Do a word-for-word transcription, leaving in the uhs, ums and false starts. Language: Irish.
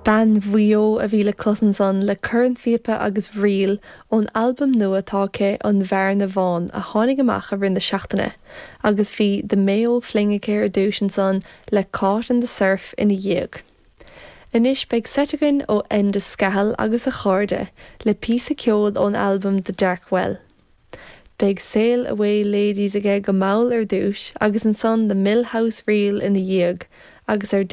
Bean Mhaigh Eo a bhí le clos ansan le cornphíopa agus ríl ón albam nua atá aici an Bhearna Bhán a tháinig amach i rith na seachtaine, agus bhí The Mayo Fling aici ar dtús ansan le Caught in the Surf ina dhiaidh. Anois beidh seit againn ó Enda Scahill agus a chairde le píosa ceoil ón albam The Dark Well. Beidh Sail Away Ladies aige go mall ar dtús agus ansan The Millhouse Reel ina dhiaidh agus ar